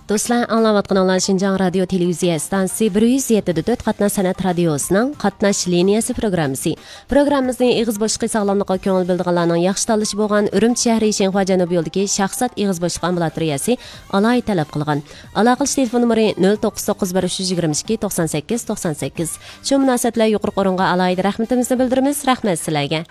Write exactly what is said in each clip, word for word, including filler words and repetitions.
دوستلار، ئاڭلاۋاتقىنىڭلار شىنجاڭ رادىيو تېلېۋىزىيە ئىستانسىسى بىر يۈز يەتتە دە تۆت قاتناش سەنئەت رادىيوسىنىڭ قاتناش لىنىيەسى پروگراممىسى. پروگراممىمىزنى ئېغىز بوشلۇقى ساغلاملىقىغا كۆڭۈل بۆلىدىغانلارنىڭ ياخشى تاللىشى بولغان ئۈرۈمچى شەھىرى شىنخۇا جەنۇبىي يولىدىكى شاھزات ئېغىز بوشلۇقى ئامبۇلاتورىيەسى ئالاھىدە تەلەپ قىلغان. ئالاقىلىشىش تېلېفون نومۇرى نۆل توققۇز توققۇز بىر ئۈچ يۈز يىگىرمە ئىككى توقسان سەككىز توقسان سەككىز. شۇ مۇناسىۋەت بىلەن يۇقىرىقى ئورۇنغا ئالاھىدە رەھمىتىمىزنى بىلدۈرىمىز. رەھمەت سىلەرگە.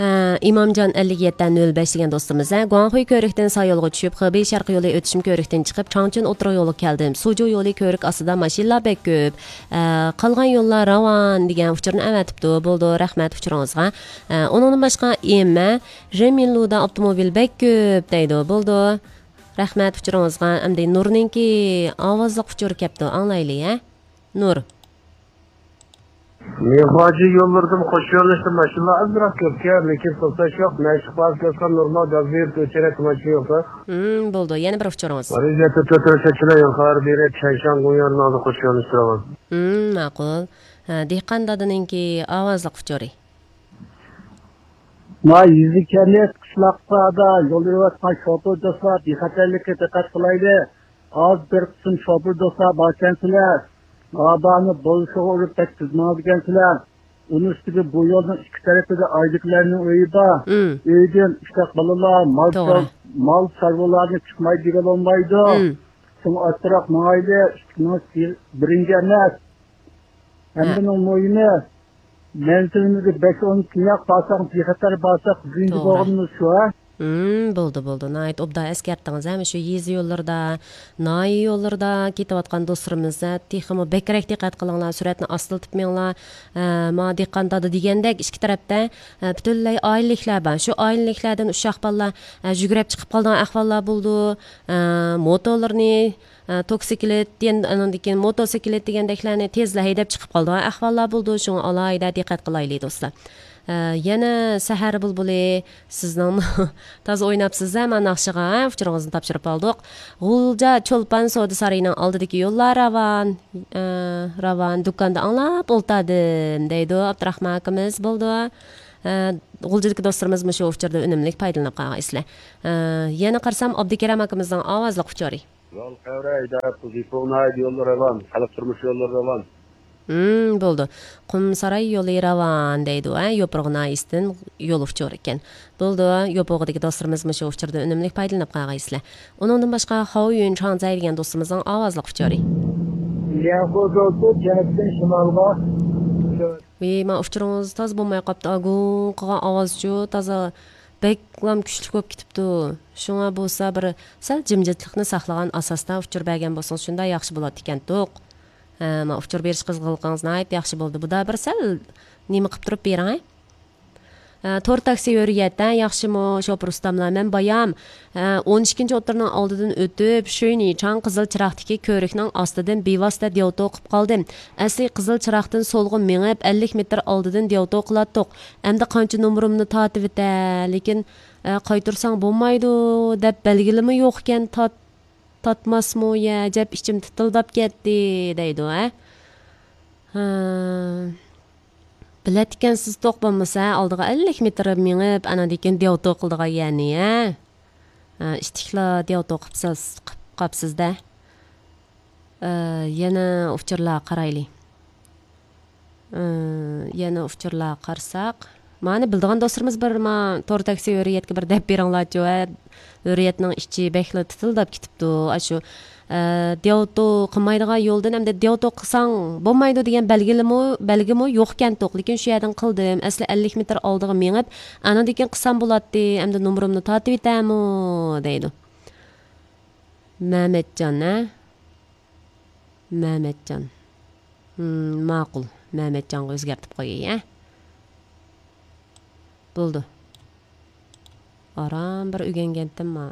ھە، ئىمامجان ئەللىك يەتتە نۆل بەش دېگەن دوستىمىز، ھە، گۇاڭخۇي كۆۋرۈكتىن سايولغا چۈشۈپ، خېبېي شەرقىي يولى ئۆتۈشمە كۆۋرۈكتىن چىقىپ، چاڭچۈن ئوتتۇرا يولغا كەلدىم. سۇجۇ يولى كۆۋرۈك ئاستىدا ماشىنىلار بەك كۆپ. ھە، قالغان يوللار راۋان دېگەن ئۇچۇرنى ئەۋەتىپتۇ. بولىدۇ، رەھمەت ئۇچۇرىڭىزغا. ھە، ئۇنىڭدىن باشقا ئېمە، رېمىنلۇدا ئاپتوموبىل بەك كۆپ دەيدۇ. بولىدۇ. رەھمەت ئۇچۇرىڭىزغا. ئەمدى نۇرنىڭكى ئاۋازلىق ئۇچۇرى كەپتۇ، ئاڭلايلى، ھە؟ نۇر. مېخاجى يوللىرىدىن قوش يۆنىلىشتە ماشىنىلار ئازراق كۆپكەن، لېكىن توختاش يوق. مەشىق بازىسى ئۆتكەن نورمال گاز بېرىپ ئۆچۈرەك ماشىنا يوق. ھىم، بولىدۇ. يەنە بىر ئۇچۇرىڭىز. رىزەتتە تۆت يۈز سەكسەن يول خەۋەر بېرىپ، چەنشان گۇڭيارنىڭ ئالدى قوش يۆنىلىشتە راۋان. ھىم، ماقۇل. ھە، دېھقان دادىنىڭكى ئاۋازلىق ئۇچۇرى. ما يېزا كەنت قىشلاقلاردا يول يۈرۈۋاتقان شوپۇر دوستلار بىخەتەرلىككە دىققەت قىلايلى. ئاز بىر قىسىم شوپۇر دوستلار باركەنسىلەر، مابانى بولۇشىغا ئۇرۇپ بەك تېز ماڭىدىكەنسىلەر. ئۇنىڭ ئۈستىگە بۇ يولنىڭ ئىككى تەرىپىدە ئايدىكىلەرنىڭ ئۆيى بار. ئۆيدىن ئۇششاق بالىلار، مال، توغرا، چار-، مال چارۋىلارنى چىقماي دېگىلى بولمايدۇ. شۇڭا ئاستىراق ماڭايلى، ئىككى مىڭ بىرىنچى ئەمەس. ھەممىنىڭ مۇھىمى، مەنزىلىمىزگە بەش ئون كۈنلەپ بارساق، بىخەتەر بارساق، بىرىنچى، توغرا، بولغىنىمىز شۇ، ھە؟ ھىم، بولدى، بولدى. ناھايىتى ئوبدان ئەسكەرتتىڭىز، ھە؟ مۇشۇ يېزا يوللىرىدا، ناھىيە يوللىرىدا كېتىۋاتقان دوستلىرىمىز، ھە؟ تېخىمۇ بەكرەك دىققەت قىلىڭلار، سۈرئەتنى ئاستىلىتىپ مېڭىڭلار. ھە، مانا دېھقان دادا دېگەندەك ئىككى تەرەپتە، ھە، پۈتۈنلەي ئائىلىلىكلەر بار. شۇ ئائىلىلىكلەردىن ئۇششاق بالىلار، ھە، يۈگۈرۈپ چىقىپ قالىدىغان ئەھۋاللار بولىدۇ. ھە، موتورلىرىنى، ئە، توكسىكلېت، يەنە ئانىڭدىن كېيىن موتوسىكلېت دېگەندەكلەرنى تېزلا ھەيدەپ چىقىپ قالىدىغان ئەھۋاللار بولىدۇ. شۇڭا ئالاھىدە دىققەت قىلايلى، دوستلار. ئە، يەنە سەھەر بۇلبۇلى، سىزنىڭ تازا ئويناپسىز-ھە، مانا ناخشىغا، ھە، ئۇچۇرىڭىزنى تاپشۇرۇپ ئالدۇق. غۇلجا چولپان سودا سارىيىنىڭ ئالدىدىكى يوللار راۋان، ئە، راۋان، دۇكاندا ئاڭلاپ ئولتۇردۇم، دەيدۇ ئابدۇراخمان ئاكىمىز. بولىدۇ. ئە، غۇلجىدىكى دوستلىرىمىز مۇشۇ ئۇچۇردا ئۈنۈملۈك پايدىلىنىپ قالغايسىلەر. ئە، يەنە قارىسام، ئابدۇكېرەم ئاكىمىزنىڭ ئاۋازلىق ئۇچۇرى. يول قەۋرە، ئىدارە پۇل، يوپۇرغا ناھىيەدە يوللىرى راۋان، خەلق تۇرمۇش يوللىرى راۋان. ھىم، بولىدۇ. قۇمساراي يولى راۋان دەيدۇ، ھە، يوپۇرغا ناھىيەسىدىن يول ئۇچۇرى ئىكەن. بولىدۇ، يوپۇرغىدىكى دوستلىرىمىز مۇشۇ ئۇچۇردىن ئۈنۈملۈك پايدىلىنىپ قالغايسىلەر. ئۇنىڭدىن باشقا، خاۋيۈن چاڭزەي دېگەن دوستىمىزنىڭ ئاۋازلىق ئۇچۇرى. لياخۇ زولتۇ جەنۇبتىن شىمالغا. ۋىي، ما ئۇچۇرىڭىز تازا بولماي قاپتۇ، گۇڭ قىلغان ئاۋازچۇ، تازا بەكلام كۈچلۈك بولۇپ كېتىپتۇ. شۇڭا بولسا بىر سەل جىمجىتلىقنى ساقلىغان ئاساستا ئۇچۇر بەرگەن بولسىڭىز شۇنداق ياخشى بولاتتىكەنتۇق. ھە، ما ئۇچۇر بېرىش قىزغىنلىقىڭىز ناھايىتى ياخشى بولدى. بۇدا بىر سەل نېمە قىپ تۇرۇپ بېرىڭ، ھە؟ ھە، تور تاكسى ھۆرىيەت، ھە، ياخشىمۇ، شوپۇر ئۇستاملار؟ مەن بايام، ھە، ئون ئىككىنچى ئوتتۇرىنىڭ ئالدىدىن ئۆتۈپ، شۆينىچاڭ قىزىل چىراغدىكى كۆۋرۈكنىڭ ئاستىدىن بىۋاسىتە دياۋتو قىپ قالدىم. ئەسلى قىزىل چىراغدىن سولغا مېڭىپ، ئەللىك مېتىر ئالدىدىن دياۋتو قىلاتتۇق. ئەمدى قانچە نومۇرۇمنى تارتىۋېتە، لېكىن، ئە، قايتۇرساڭ بولمايدۇ دەپ بەلگىلىمۇ يوقكەن، تارت-، تارتماسمۇ يە، ئەجەب ئىچىم تىتىلداپ كەتتى، دەيدۇ، ھە؟ ھە. بىلەتتىكەنسىز توق بولمىسا، ئالدىغا ئەللىك مېتىر مېڭىپ، ئاناندىن كېيىن دياۋتو قىلىدىغان يەرنى، ھە؟ ھە، ئىتتىكلا دياۋتو قىپسىز-، قىپ قاپسىز-دە. ئە، يەنە ئۇچۇرلارغا قارايلى. ئە، يەنە ئۇچۇرلارغا قارىساق، مانا بىلىدىغان دوستلىرىمىز بىر ما تور تاكسى ھۆرىيەتكە بىر دەپ بېرىڭلارچۇ، ھە؟ ھۆرىيەتنىڭ ئىچى بەكلا تىتىلداپ كېتىپتۇ. ئاشۇ، ئە، دياۋتو قىلمايدىغان يولدىن ئەمدى دياۋتو قىلساڭ بولمايدۇ دېگەن بەلگىلىمۇ، بەلگىمۇ يوقكەنتۇق. لېكىن شۇ يەردىن قىلدىم. ئەسلى ئەللىك مېتىر ئالدىغا مېڭىپ، ئانىدىن كېيىن قىلسام بولاتتى. ئەمدى نومۇرۇمنى تارتىۋېتەمۇ؟ دەيدۇ. مەمەتجان، ھە؟ مەمەتجان. ھىم، ماقۇل. مەمەتجانغا ئۆزگەرتىپ قوياي، ھە؟ بولدى. ئاران بىر ئۆگەنگەنتىم ما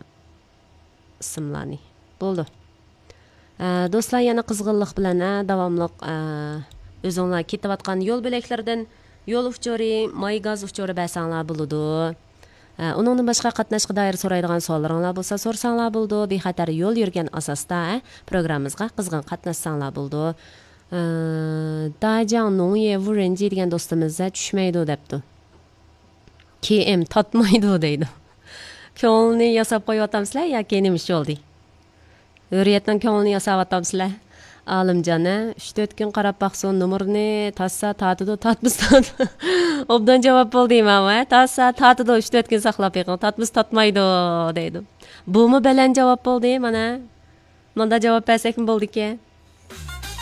ئىسىملارنى. بولدى. ئە، دوستلار، يەنە قىزغىنلىق بىلەن، ئە، داۋاملىق، ئە، ئۆزۈڭلار كېتىۋاتقان يول بۆلەكلىرىدىن يول ئۇچۇرى، ماي گاز ئۇچۇرى بەرسەڭلار بولىدۇ. ئە، ئۇنىڭدىن باشقا قاتناشقا دائىر سورايدىغان سوئاللىرىڭلار بولسا سورىساڭلار بولىدۇ. بىخەتەر يول يۈرگەن ئاساستا، ئە، پروگراممىمىزغا قىزغىن قاتناشساڭلار بولىدۇ. ئە، داجياڭ نوڭيې ۋۇرېنجى دېگەن دوستىمىز، ئە، چۈشمەيدۇ دەپتۇ. كېيىم تاتمايدۇ دەيدۇ. كۆڭلىنى ياساپ قويۇۋاتامسىلەر ياكى نېمە ئىش بولدى؟ ھۆرىيەتنىڭ كۆڭلىنى ياساۋاتامسىلەر؟ ئالىمجان، ھە، ئۈچ تۆت كۈن قاراپ باقسۇن، نومۇرنى تارتسا تارتىدۇ، تارتمىسا تارتىدۇ. ئوبدان جاۋاب بولدى ماۋۇ، ھە؟ تارتسا تارتىدۇ، ئۈچ تۆت كۈن ساقلاپ بېقىڭ، تارتمىسا تارتمايدۇ دەيدۇ. بۇمۇ بەلەن جاۋاب بولدى مانا. مۇنداق جاۋاب بەرسەكمۇ بولىدىكەن.